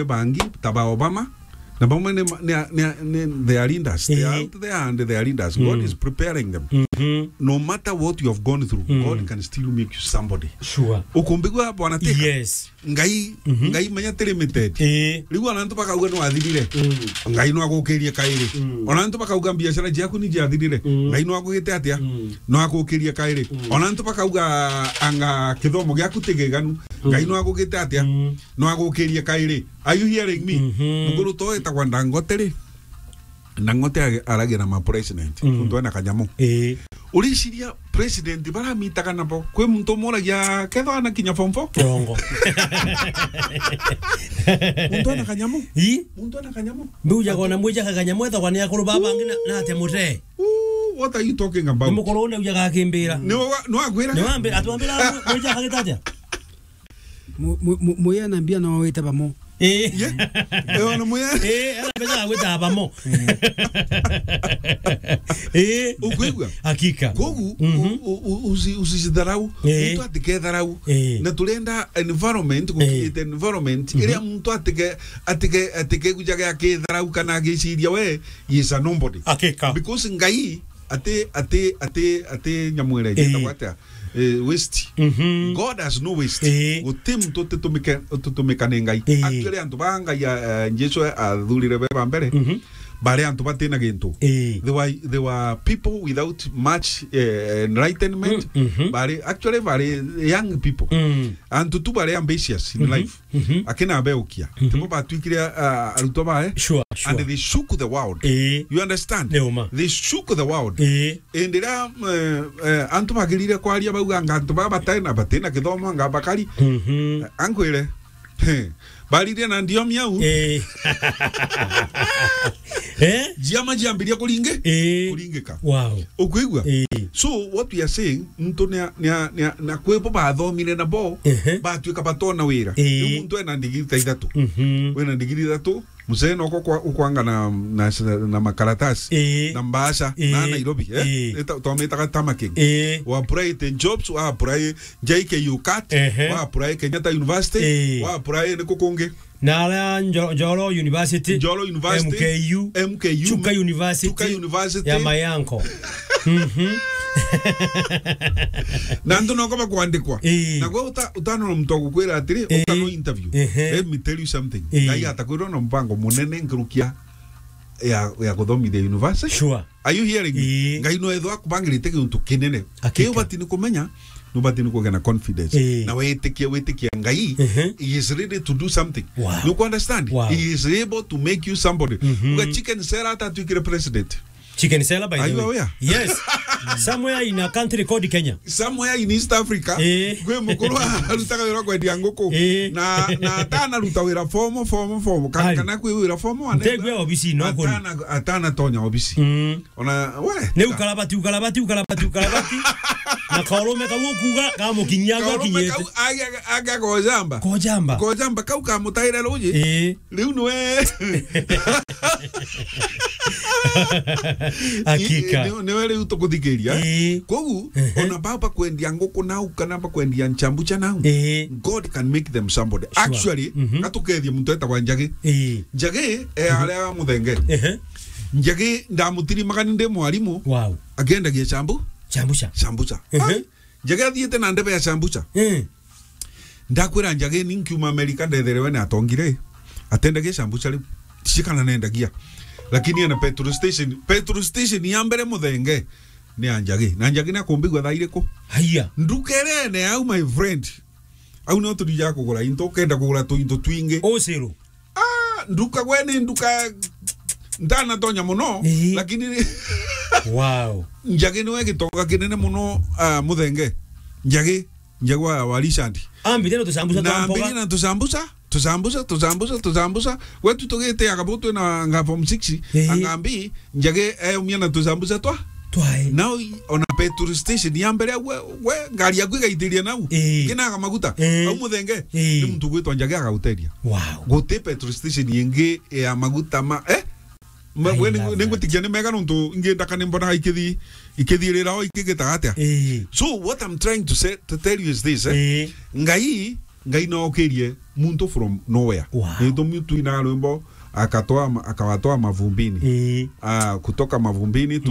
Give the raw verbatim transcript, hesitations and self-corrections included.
bangi, ta ba Obama, na bamwe ni ma-, ni, ni, ni, they are leaders. They are Eh. out there and they are leaders. God Mm. is preparing them. Mhm. No matter what you have gone through, Mm. God can still make you somebody. Sure. Ukumbigua bwana Teka? Yes. Ngai, Mhm. Ngai menya ti limited. Eh. Riu ona antu bakauga no athirire. Mm. Ngai no agukirie kairi. Mm. Ona antu bakauga biashara ciaku ni ciathirire. Mm. Ngai no agugite atia? Mm. No agukirie kairi. Mm. Ona antu bakauga anga kithomo giaku ti kiganu. Mm. Ngai no agugite atia? Mm. No agukirie kairi. Are you hearing me? Mhm. Mukuru to etagwa Dangote ri? Dangote age-, aragira ma president. Mm. Muntu ena kanyamu. Eh. Uriciria president baramitaga nabo. Kwi muntu umuragia kethwa ana kinya form four? Kirongo. Muntu ena kanyamu. I? Muntu ena kanyamu. Mbiujaga ona mwijaga kanyamu ethagwa ni akuru baba bangi na, na atia mutee. Ooh, what are you talking about? Ni mukuru une ujaga akimbira. Ni wa-, ni wakwira? Ni wambi-, atwambira mwijaga gitatia? Mu-, mu-, mu-, muya na mbia no wite bamo. Eh. Ye? Eh, ona muya? Eh, ana pesa ya gwita bamo. Eh. Ukwigua? Hakika. Kogu, Mhm. u-, u-, u-, usi-, usicitharau. Eh. Muntu atiketharau. Eh. Na turenda environment, Eh. Gukirite environment, Mhm. iria muntu atike-, atike-, atikegujaga akitharau kana agiciria we, he is a nobody. Hakika. Because Ngai ati, ati, ati, ati nyamwire, Eh. Gitagwa atia? Eh, waste. Mhm. God has no waste. Eh. Guti muntu utitumike-, utitumika ni Ngai. Eh. Actually, antu ba Ngai, eh, Jesu athurire be ba mbere, Mhm. bari antu batina gintu. Eh. They were, they were people without much, eh, enlightenment. Mm, mhm. Bari, actually, bari young people. Mm. Antu tu bari ambitious in Mhm. life. Mhm. Akina abeukia. Mhm. Tibo batwikire, ah, arutwo bae. Sure, sure. And they shook the world. Eh. You understand? Ni uma. They shook the world. Eh. Indi riria, eh, eh, antu bagirire kwaria bauga anga antu baba batena, batina kithomo anga bakari. Mhm. Eh, ankwire. He. Baririe na ndiomi au. Eh. Eh? Jiama jiambiria kuringi-, Eh. kuringika. Wow. Ukwigua? Eh. So, what we are saying, muntu nia, nia, nia, na kwibo bathomire nabo, Ehe. Batuika batona wira. Eh. Riu muntu ena ndigiri ta ithatu. Mhm. Wina ndigiri ithatu, mzee noko kwa, ukwanga na, na, na makaratasi, Eh. Na mbaca, Eh. Na Nairobi, eh? Eh. Ita-, twamitaga tamaking. Eh. Wa apply ten jobs, wa apply J K U cat, Ehe. Wa apply Kenyatta University, Eh. Wa apply ni kukungi. Na aria Njo-, Njoro University, Njoro University, M K U, M K U, Chuka University, Chuka University. Ya my uncle. Mhm. Na antu noko bakwandikwa. Ii. Na gwe uta-, utanona muntu agukwira atiri, Ii. Utano interview. Ehe. Let me tell you something. Ii. Ngai atakwirwa na mpango munene nkirukia ya, ya kuthomithia university. Sure. Are you hearing me? Ii. Ngai no ethwa akubangirite kiuntu kinene. Hakika. Kiu bati ni kumenya, no bati ni kugia na confidence. Ii. Na witikia, witikia Ngai, Ehe. He is ready to do something. Wow. You understand? Wow. He is able to make you somebody. Mhm. Uga chicken seller atatwikire president. Chicken seller, by the way. Are you aware? Yes. Somewhere in a country called Kenya. Somewhere in East Africa, Eh. Kwi mukuru arutaga wira wa kwendia nguku. Eh. Na, na atanaruta wira fomo, fomo, fomo. Ka-, Ai. Kana kwi wira fomo, ane-, Ntegwe obisi, no kuri. Atana, atanatonya obisi. Mm. Ona, we. Ni ukarabati, ukarabati, ukarabati, ukarabati. Na karume kau ukuga, kamukinyia, Karume akinyite. Kau, aga, aga, aga kojamba. Kojamba. Kojamba, kau kamutaire ruji. Eh. Riu niwe. Hakika. Ni, ni, niwe riu tukuthikiria. Ii. Kogu, Ehe. Ona baba kwendia nguku nau, kana bakwendia nchambucha nau, Ii. God can make them somebody. Sure. Actually, Mhm. Gatukethie muntu etagwa Njagi. Ii. Njagi, e, Mhm. Aria Muthenge. Ehe. Njagi, ndamutirimagani ndi mwarimu. Wow. Akiendagia chambu-, Chambucha. Chambucha. Ehe. Ai, Njagi athiite na ndebe ya chambucha. Ii. Ndakwira Njagi ni nkiuma Amerika ndethere we ni atongire, atendagia chambucha riu. Tiji kana nendagia. Lakini ena petrol station, petrol station ya mbere Muthenge ni ya Njagi. Na Njagi ni akumbigua thaa iriku? Haiya. Nduka iria ene au, my friend. Au no tuthija kugura into, ukenda kugura tuinto twingi. Uciru. Ah, nduka gwe ni nduka ntanatonya muno, Ii. Lakini Wow. Njagi niwe gitoga kinene muno, ah, Muthenge. Njagi, Njagi wa, wa Richard. Ambire no tucambuca Na twa mboga. Ambire na tucambuca, tucambuca, tucambuca, tucambuca. Gwetu tugite agabu twina nga form six, Ii. Angambi, Njagi eumia na tucambuca twa. Twae. Now, ona petrol station ya mbere, we, we, ngari yaku igaitiria nau. Ii. Kinaga maguta. Ii. Au Muthenge, Ii. Ni muntu gwitwa Njagi agaguteria. Wow. Guti petrol station ingi ya maguta ma, eh? Ma, I we, love that. Ningutikia ni mega nontu ingi ndaka ni mbonaga ikithi-, ikithirira o ikigitaga atia. Ii. So what I'm trying to say, to tell you is this, eh? Ii. Ngai Ngai nookirie muntu from nowhere. Wow. Ni gitumi twina rwimbo, akatoa ma-, akawatoa mavumbini. Ii. Ah, kutoka mavumbini tu.